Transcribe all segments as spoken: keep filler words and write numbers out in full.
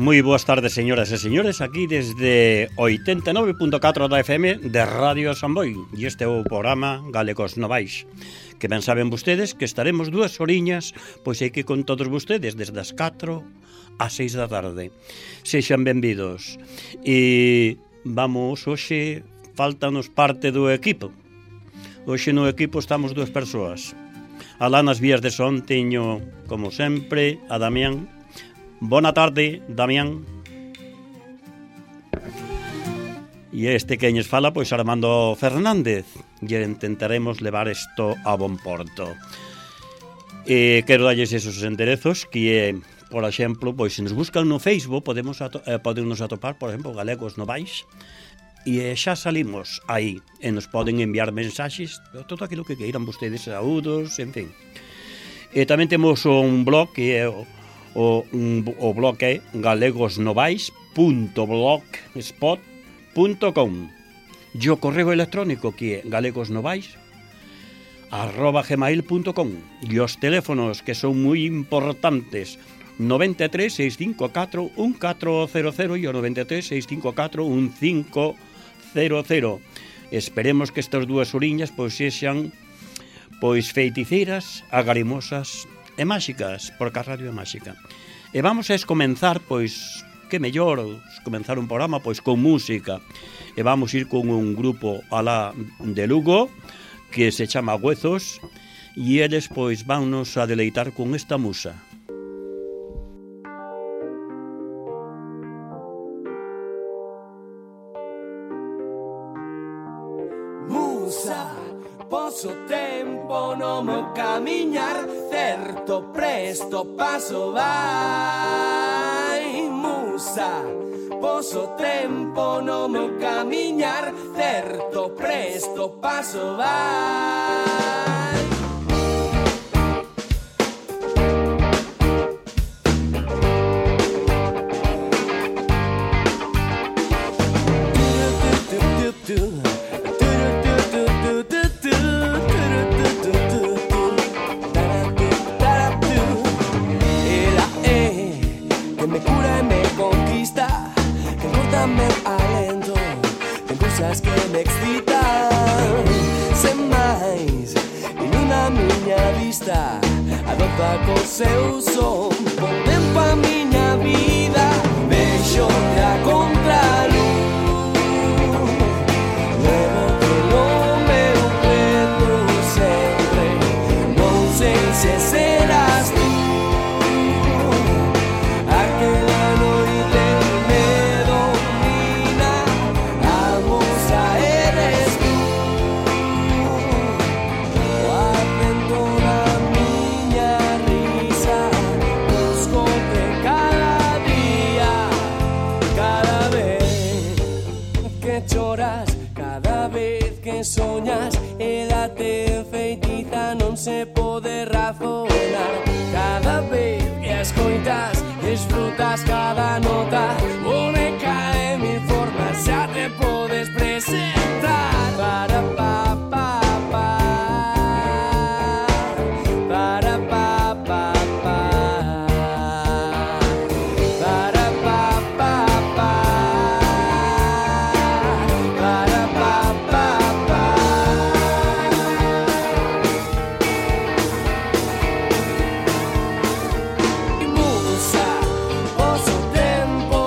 Moi boas tardes, señoras e señores, aquí desde oitenta e nove punto catro da F M de Radio Samboy. E este é o programa Galegos Novais, que ben saben vostedes que estaremos dúas horiñas, pois hai que con todos vostedes desde as catro ás seis da tarde. Sexan benvidos. E vamos, hoxe faltanos parte do equipo. Hoxe no equipo estamos dúas persoas. Alá nas vías de son teño, como sempre, a Damián. Bona tarde, Damián. E este que ñes fala, pois Armando Fernández. E intentaremos levar isto a bon porto. E quero dalles esos enderezos que, por exemplo, pois se nos buscan no Facebook, podemos ato- eh, podennos atopar, por exemplo, Galegos Novais. E xa salimos aí. E nos poden enviar mensaxes, todo aquilo que queiran vostedes, saúdos, en fin. E tamén temos un blog que é o O, o blog é galegosnovais punto blogspot punto com e o correo electrónico que é galegosnovais arroba gmail punto com e os teléfonos que son moi importantes noventa e tres, seiscentos cincuenta e catro, un catro cero cero e o noventa e tres, seiscentos cincuenta e catro, un cinco cero cero. Esperemos que estas dúas oriñas pois sexan pois feiticeiras, agarimosas e máxicas, porque a radio é máxica. E vamos a comenzar, pois, que mellor comenzar un programa, pois, con música. E vamos ir con un grupo alá de Lugo, que se chama Huezos, e eles, pois, vannos a deleitar con esta musa. Musa, poso tempo no meu camiñar, certo presto paso vai. Musa, poso tempo no meu camiñar, certo presto paso vai. Que me excitan sen máis ilumina a miña vista, adopta co seu son, pon tempo a miña vida, vexo a contraluz, levo polo meu peto sempre, non sei se serás tú, aquela noite me domina, a musa eres tú, o acento da miña risa, buscote cada día, cada vez que choras, cada vez que soñas, edate feitiza non se pode razonar, cada vez que escoitas, disfrutas cada nota, única de mil formas, xa te podes presentar. Para pa pa pa, para pa pa pa, para pa pa pa, para pa pa pa. Musa, poso tempo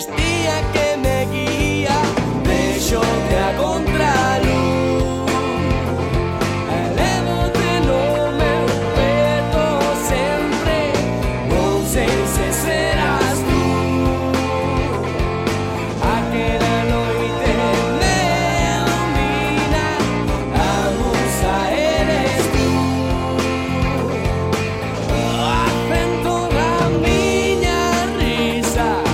sacristía que me guía, vexote a contraluz. Elévote no meu peto sempre, non sei se serás tú. Aquela noite me ilumina, a musa eres tú. Acento da miña risa,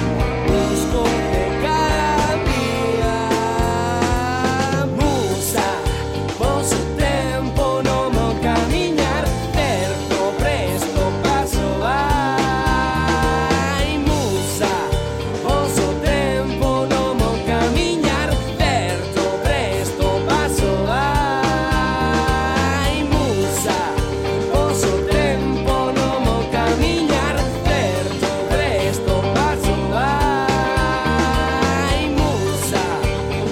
buscote cada día. Musa, vosso tempo no meu camiñar, certo presto paso vai. Musa, vosso tempo no meu camiñar, certo presto paso vai. Musa, vosso tempo no meu camiñar, certo presto paso vai. Musa,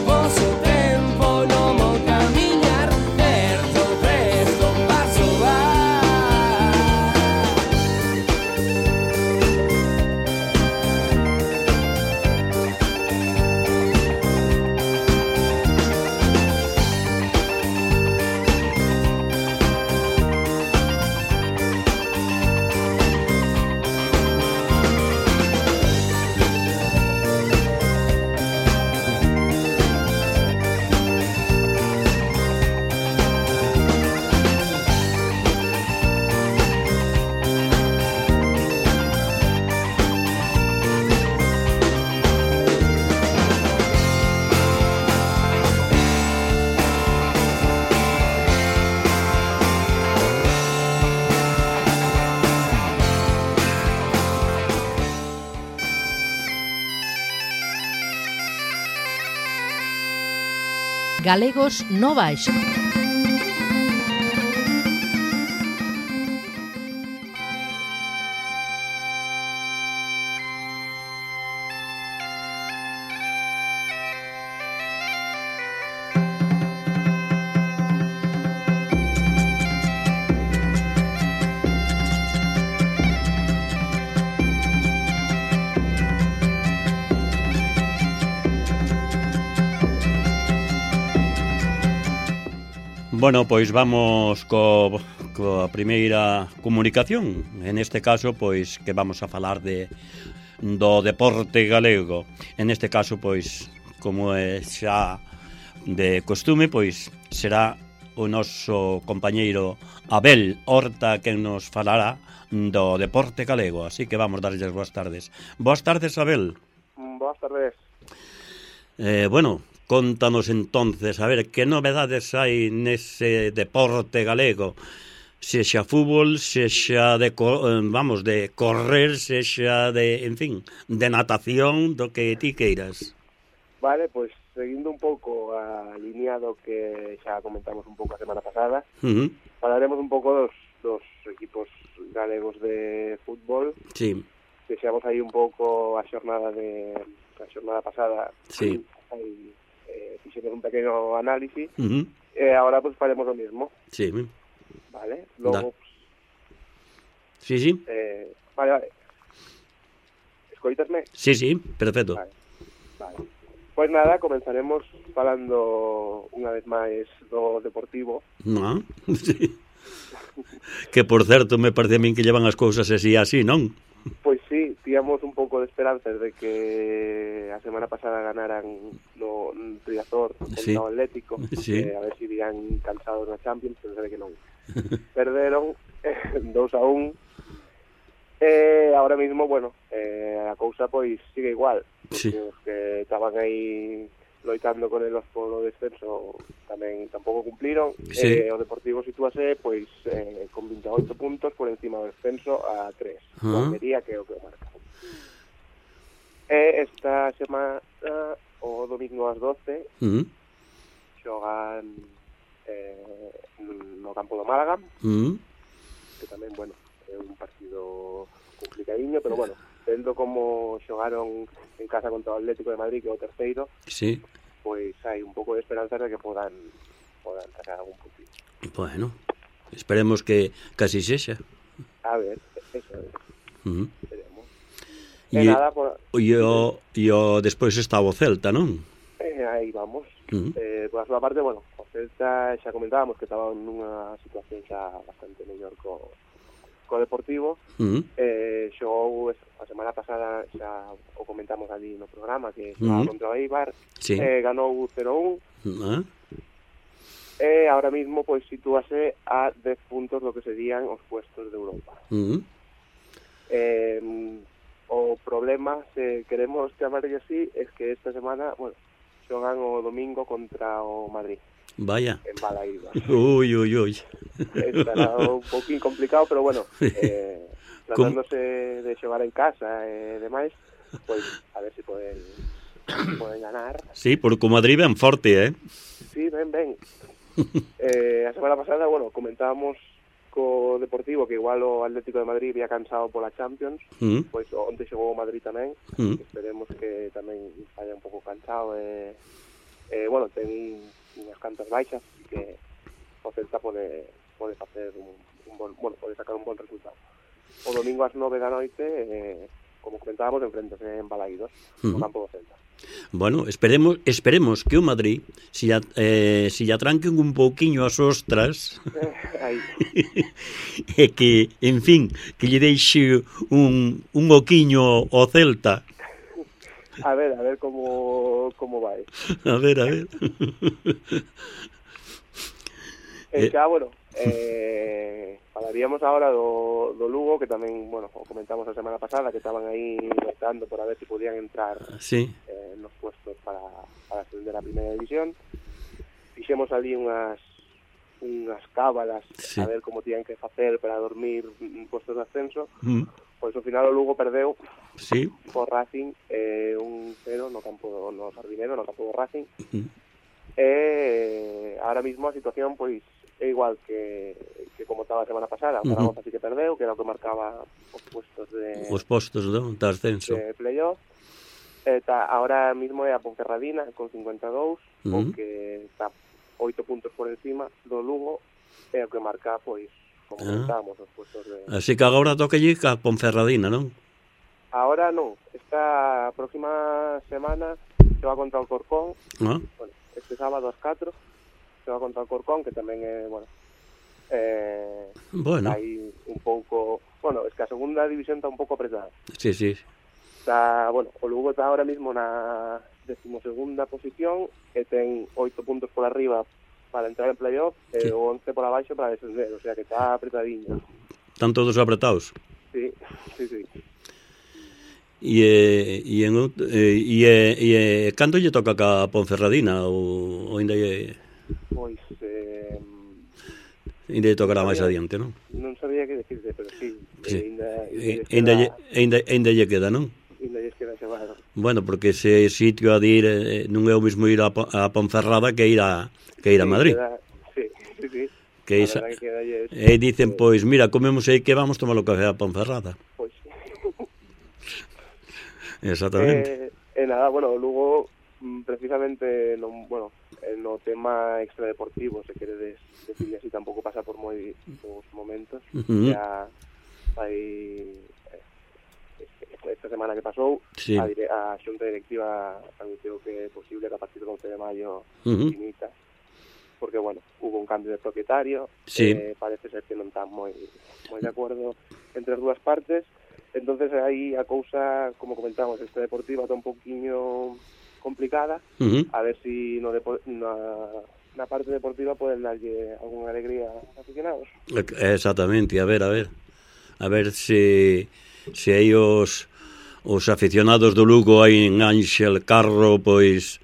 vosso tempo no meu camiñar, certo presto paso vai. Galegos no Baixo. Bueno, pois vamos co, coa primeira comunicación. En este caso, pois, que vamos a falar de do deporte galego. En este caso, pois, como é xa de costume, pois, será o noso compañeiro Abel Horta quen nos falará do deporte galego. Así que vamos darlles boas tardes. Boas tardes, Abel. Boas tardes. Eh, bueno... Contanos entonces, a ver, que novedades hai nese deporte galego? Sexa fútbol, sexa de, vamos, de correr, sexa de, en fin, de natación, do que ti queiras. Vale, pois, seguindo un pouco a línea do que xa comentamos un pouco a semana pasada, uh-huh. falaremos un pouco dos, dos equipos galegos de fútbol. Sí. Fixemos aí un pouco a xornada de a xornada pasada. Sí. Aí eh, fixemos un pequeno análisis, uh-huh. e agora pues faremos o mismo. Sí. Vale, logo... Pues, sí, sí. Eh, vale, vale. Escoitasme? Sí, sí, perfecto. Vale, vale. Pois nada, comenzaremos falando unha vez máis do Deportivo. No, sí. Que, por certo, me parece a min que llevan as cousas así así, non? Pois sí, tíamos un pouco de esperanzas de que a semana pasada ganaran no Riazor contra sí. o Atlético, sí. eh, a ver se si irían cansados na Champions, pero sabe que non. Perderon eh, dos a un. Eh, ahora mismo, bueno, eh, a cousa pois sigue igual, porque sí. os que estaban aí loitando con elos polo descenso tamén tampouco cumpliron. Sí. Eh, o Deportivo sitúase pois eh, con vinte e oito puntos por encima do descenso a tres. Uh-huh. Almería, que é o que o marca. E esta semana, o domingo ás doce, uh-huh. xogan eh, no campo do Málaga, uh-huh. que tamén, bueno, é un partido complicadiño, pero bueno, vendo como xogaron en casa contra o Atlético de Madrid, que é o terceiro, sí. pois hai un pouco de esperanza de que podan podan sacar algún puntito. Bueno, esperemos que casi sexa. A ver, eso é. Uh-huh. Veremos. E nada, por... e o, e o despois estaba o Celta, non? Eh, aí vamos. Uh-huh. Eh, por a súa parte, bueno, o Celta xa comentábamos que estaba nunha situación xa bastante mellor co, co Deportivo. Uh-huh. Eh, xogou a semana pasada, xa o comentamos ali no programa, que xogaba Uh-huh. contra o Eibar, Sí. eh, ganou cero un. Uh-huh. E ahora mismo pois sitúase a dez puntos do que serían os puestos de Europa. Uh-huh. Eh, o problema, se queremos chamarlle así, es que esta semana, bueno, xogan o domingo contra o Madrid, Vaya. en Balaídos. Ui, ui, ui. Estará un poquín complicado, pero bueno, eh, tratándose de xogar en casa e eh, demais, pois a ver se si poden, poden ganar. Sí, porque o Madrid ben forte, eh? Sí, ben, ben. Eh, a semana pasada, bueno, comentábamos co Deportivo que igual o Atlético de Madrid había cansado pola Champions, Uh-huh. pois onte xogou o Madrid tamén, Uh-huh. esperemos que tamén vaya un pouco cansado e, eh, bueno, ten unhas cantas baixas, así que o Celta pode, pode facer un, un bon, bueno, pode sacar un bon resultado. O domingo ás nove da noite, eh, como comentábamos, enfrentase en Balaídos, no Uh-huh. campo do Celta. Bueno, esperemos esperemos que o Madrid si ya, eh, si ya tranquen un pouquiño as ostras Eh, aí. e que, en fin, que lle deixe un, un oquiño ao Celta. A ver, a ver como, como vai. A ver, a ver. E xa, bueno, eh, falaríamos ahora do, do Lugo, que tamén, bueno, o comentamos a semana pasada, que estaban aí lutando por a ver se si podían entrar Sí. eh, nos puestos para, para ascender a primeira división. Fixemos ali unhas unhas cábalas, Sí. a ver como tiñan que facer para dormir en puestos de ascenso. Mm. Pois ao final o Lugo perdeu Sí. por Racing eh, un cero no campo do, no Sardinero, no campo do Racing. Mm. E ahora mismo a situación pois é igual que, que como estaba a semana pasada. O Zaragoza sí que perdeu, que era o que marcaba os puestos de, Os postos do, de ascenso. de playoff. Está, ahora mismo é a Ponferradina con cincuenta e dous, Uh-huh. o que está oito puntos por encima do Lugo, é o que marca, pois, como Ah. comentábamos, os puestos de... Así que agora toca lle a Ponferradina, non? Ahora non, esta próxima semana se va contra o Corcón, Ah. bueno, este sábado ás catro, se va contra o Corcón, que tamén é, bueno, eh, Bueno, aí un pouco... Bueno, es que a segunda división está un pouco apretada. sí, sí. Está, bueno, o Lugo está ahora mismo na decimosegunda posición e ten oito puntos por arriba para entrar en playoff e Sí. o once por abaixo para descender, o sea que está apretadiño. Están todos apretados. Sí, sí, sí. E, eh, e, en, out- eh, e, eh, e eh, cando lle toca ca Ponferradina ou, ou ainda lle, Pois, eh, ainda lle tocará máis Sabía. adiante, non? non sabía que decirte, pero sí, Sí. eh, ainda, Eh, ainda, Ainda lle, queda, ainda, ainda lle queda, non? ainda lles queda xogar. Bueno, porque ese sitio a de ir eh, non é o mismo ir a, Po- a Ponferrada que ir a que ir a Sí, Madrid. queda- sí, sí, sí. Que A esa, verdade que quedalles, e dicen, eh, pois, mira, comemos aí que vamos tomar o café a Ponferrada. pois, Exactamente. Eh, e nada, bueno, Lugo mm, precisamente non, bueno, eh, no tema extradeportivo, se queredes decirle así, tampouco pasa por moi bons momentos. Ujú. Ya hai eh, esta semana que pasou, Sí. a, dire, a xunta directiva anunciou que é posible que a partir do once de maio Ujú. finita, porque, bueno, hubo un cambio de propietario, Sí. eh, parece ser que non están moi moi de acordo entre as dúas partes. Entonces aí a cousa, como comentamos, esta deportiva está un poquinho complicada, Ujú. a ver si no depo- na, na parte deportiva poden darlle algunha alegría aos aficionados. Exactamente, a ver, a ver. A ver se se aí os os aficionados do Lugo aí en Ánxel Carro pois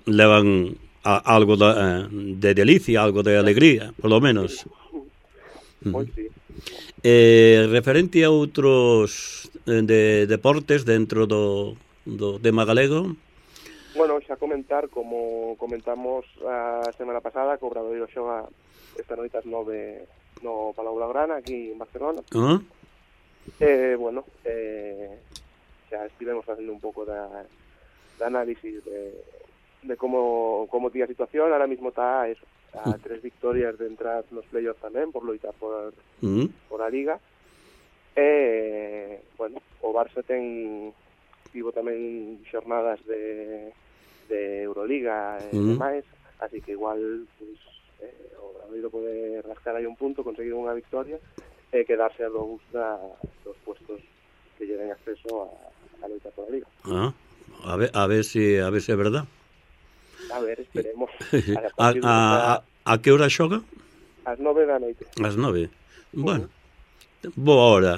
levan a, algo da, de delicia, algo de alegría, polo menos. Pois sí. Eh, referente a outros eh, de deportes dentro do, do tema galego. Bueno, xa comentar, como comentamos a semana pasada, que o Obradoiro xoga esta noite ás nove no Palau Blaugrana, aquí en Barcelona. Ah? Eh, bueno, eh, xa estivemos facendo un pouco da, da análisis de, de como, como tía a situación. Ahora mismo está eso, a tres victorias de entrar nos playoffs tamén, por loitar por, Mm. por a Liga. E, bueno, o Barça ten tivo tamén xornadas de, de Euroliga e Mm. demais, así que igual pues, eh, o Obradoiro pode rascar aí un punto, conseguir unha victoria e quedarse a dous da, dos puestos que lle den acceso a, a loita por a Liga. Ah, a ver, a ver si a ver se é verdad. A ver, esperemos. A, partir a, a, a que hora xoga? Ás nove da noite. Ás nove. Bueno, boa hora.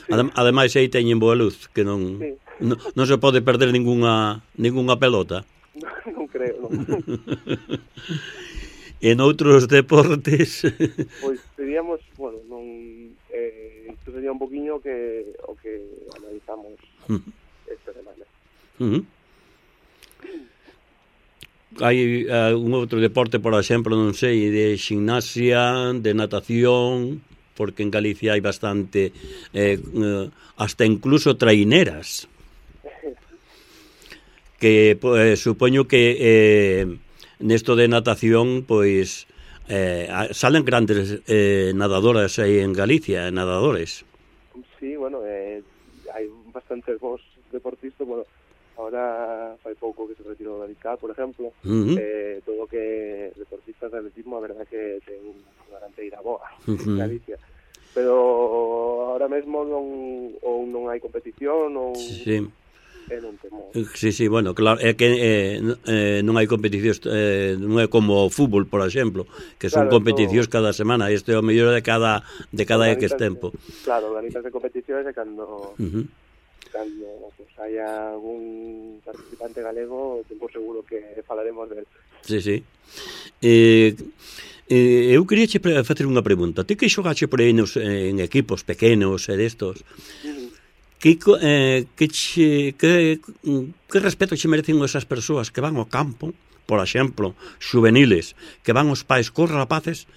Adem, ademais aí teñen boa luz, que non, Sí. non non se pode perder ningunha ningunha pelota. Non creo, non. En outros deportes Pois diríamos, bueno, non eh, isto sería un poquinho que o que analizamos esta semana. uh-huh. Hai uh, un outro deporte, por exemplo, non sei, de gimnasia, de natación, porque en Galicia hai bastante eh, eh, hasta incluso traineras que pues, supoño que eh, nesto de natación pois eh, salen grandes eh, nadadoras aí en Galicia, nadadores. Sí, bueno, eh, hai bastantes bons deportistas, bueno, ahora fai pouco que se retirou da Lica, por exemplo, Uh-huh. eh, todo que deportistas de atletismo, a verdad que ten unha garanteira boa Uh-huh. en Galicia, pero ahora mesmo non ou non hai competición ou Sí. eh, non temo. Sí, sí, bueno, claro, é que eh, eh, non hai competicións, eh, non é como o fútbol, por exemplo, que son Claro, competicións esto... cada semana, isto é o mellor de cada de cada X tempo. Claro, organizas de competicións e cando Uh-huh. cando pues, haya algún participante galego, tempo seguro que falaremos del. Sí, sí. Eh, eh, eu queria che facer unha pregunta. Ti que xogache por aí nos, en equipos pequenos e destos, que, eh, que, che, que, que respeto che merecen esas persoas que van ao campo, por exemplo, juveniles, que van os pais cos rapaces,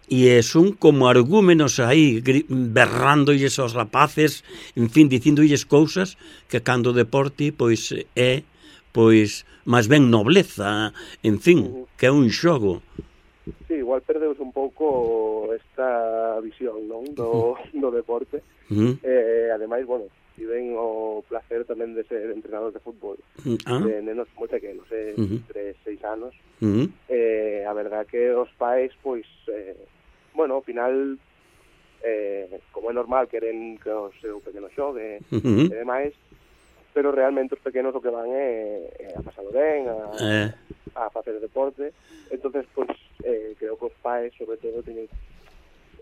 e son como argúmenos aí berrándoilles aos rapaces, en fin, dicindolles cousas que cando o deporte pois é pois máis ben nobleza, en fin, que é un xogo. Sí, igual perdeus un pouco esta visión, non, do, do deporte. Uh-huh. Eh, ademais, bueno, tiven o placer tamén de ser entrenador de fútbol, ah. de nenos moi pequenos, eh, Uh-huh. tres, seis anos. Uh-huh. Eh, a verdad que os pais, pois, eh, bueno, ao final, eh, como é normal, queren que o seu pequeno xogue Uh-huh. e demais, pero realmente os pequenos o que van é, é a pasado ben, a, Eh. a facer deporte. Entonces, pois, eh, creo que os pais, sobre todo, teñen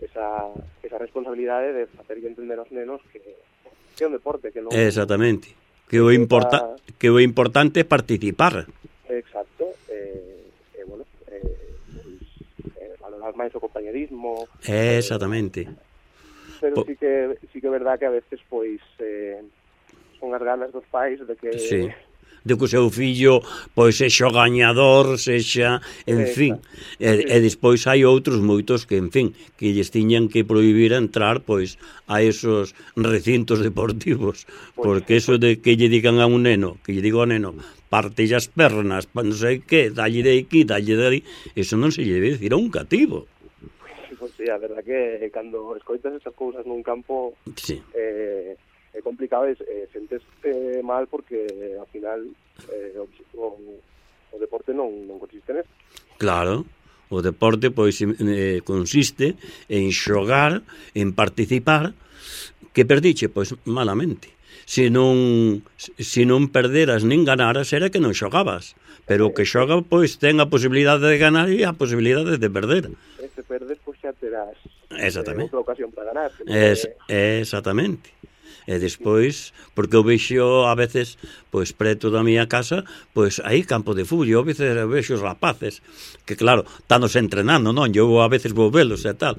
esa, esa responsabilidade de facer entender aos nenos que, que é un deporte, que non... Exactamente. Que o, importa, que o importante é participar. Exacto. Eh, eh, bueno, eh, pues, eh, valorar máis o compañerismo. Exactamente. Eh, pero Po... sí que sí que é verdad que a veces, pois, eh, son as ganas dos pais de que... Sí. De que o seu fillo pois sexa gañador, sexa, en Exacto. fin, e, e despois hai outros moitos que, en fin, que lles tiñan que prohibir entrar pois a esos recintos deportivos, porque eso de que lle digan a un neno, que lle digo ao neno, parte as pernas, non sei que, dalle de aquí, dalle de aí, eso non se lle debe decir a un cativo. Pois sí, a verdad que cando escoitas esas cousas nun campo, sí. eh, é complicado, e eh, sentes eh, mal porque ao final eh, o, o, o deporte non, non consiste nesto. Claro, o deporte pois eh, consiste en xogar, en participar, que perdiche, pois malamente. Se non, se non perderas nin ganaras, era que non xogabas. Pero o que xoga, pois, ten a posibilidade de ganar e a posibilidade de perder. E se perdes, pois xa terás eh, outra ocasión para ganar. Es, é exactamente. E despois, porque eu vexo a veces, pois preto da miña casa, pois aí campo de fútbol, eu a veces vexo os rapaces, que claro, tanos entrenando, non? Eu a veces vou velos e tal.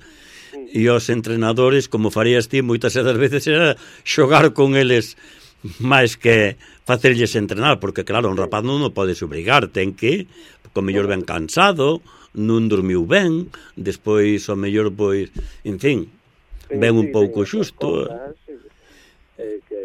E os entrenadores, como farías ti, moitas das veces era xogar con eles máis que facerlles entrenar, porque claro, un rapaz non o podes obrigar, ten que, con mellor ben cansado, non dormiu ben, despois o mellor, pois, en fin, ben un pouco xusto. Eh, que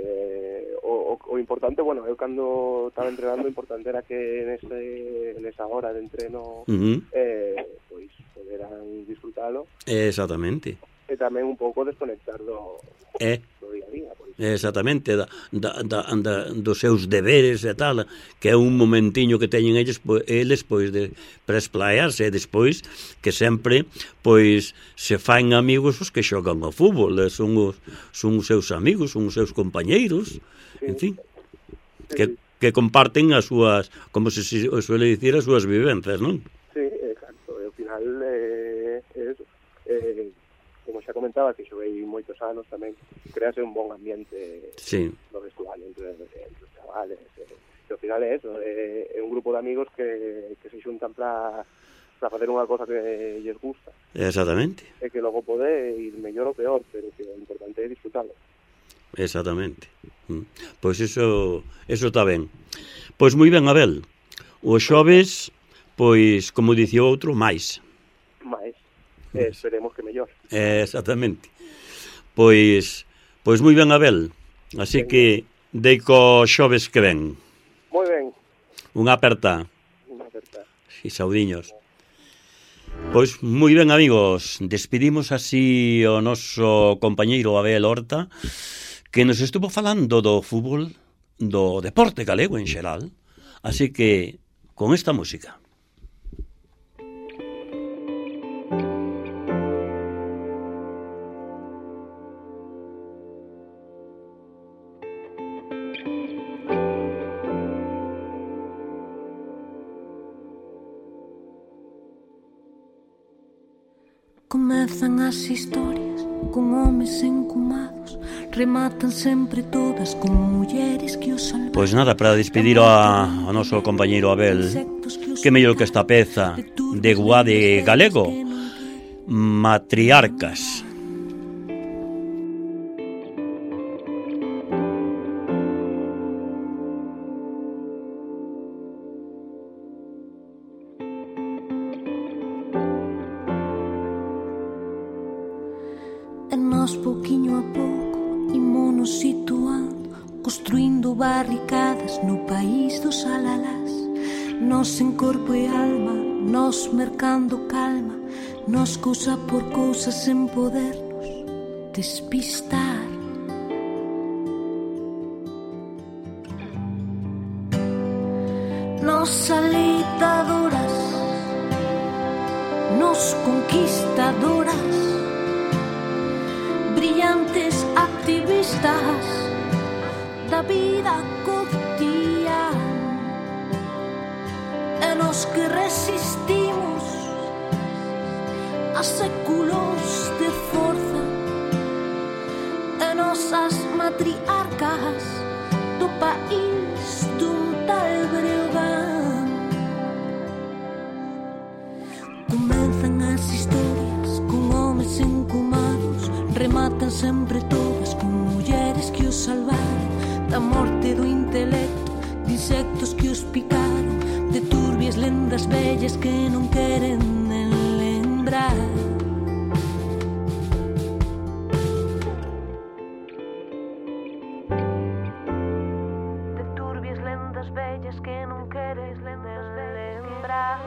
o, o, o importante, bueno, eu cando estaba entrenando, o importante era que nese, nesa hora de entreno uh-huh. eh, pois poderan disfrutalo. Exactamente. E tamén un pouco desconectar do, eh. do día a día. Pois, Exactamente, da, da, da, da, dos seus deberes e tal, que é un momentiño que teñen eles, pois, eles pois de para esplayarse, e despois que sempre pois se faen amigos os que xogan ao fútbol, son os, son os seus amigos, son os seus compañeiros, en fin, que, que comparten as súas, como se suele dicir, as súas vivencias, non? Sí, exacto, e ao final eh, é eso. Eh, como xa comentaba, que xoguei moitos anos tamén, crease un bon ambiente sí. no vestuario entre, entre os chavales, e, e ao final é eso, é, é un grupo de amigos que, que se xuntan para para facer unha cosa que lles gusta. Exactamente. E que logo pode ir mellor ou peor, pero que o importante é disfrutalo. Exactamente. Pois iso, iso está ben. Pois moi ben, Abel. Os xoves, pois, como dicía outro, máis. máis, eh, esperemos que mellor. Eh, exactamente. Pois, pois moi ben, Abel. Así ben, que dei co xoves que ven. Moi ben. Unha aperta. Unha aperta. E saudiños. Pois moi ben, amigos. Despedimos así o noso compañeiro Abel Horta, que nos estuvo falando do fútbol, do deporte galego en xeral. Así que, con esta música. Comezan as historias con homes encumados, rematan sempre todas con mulleres que os salvan. Pois nada, para despedir a, a noso compañeiro Abel, que mellor que esta peza de Guade galego, Matriarcas. E nós pouquiño a pouco imonos situando, construindo barricadas no país dos alalás. Nós en corpo e alma, nós mercando calma, nós cousa por cousa sen podernos despistar. Nós alitadoras, nós conquistadoras, brillantes activistas da vida cotidiana, e nos que resistimos a séculos de forza, e nosas matriarcas do país dun tal Breogán. Comenzan as historias con homes encumados, rematan sempre todas con mulleres que os salvaron da morte do intelecto, de insectos que os picaron, de turbias lendas vellas que non queren nen lembrar. De turbias lendas vellas que non queres lembrar.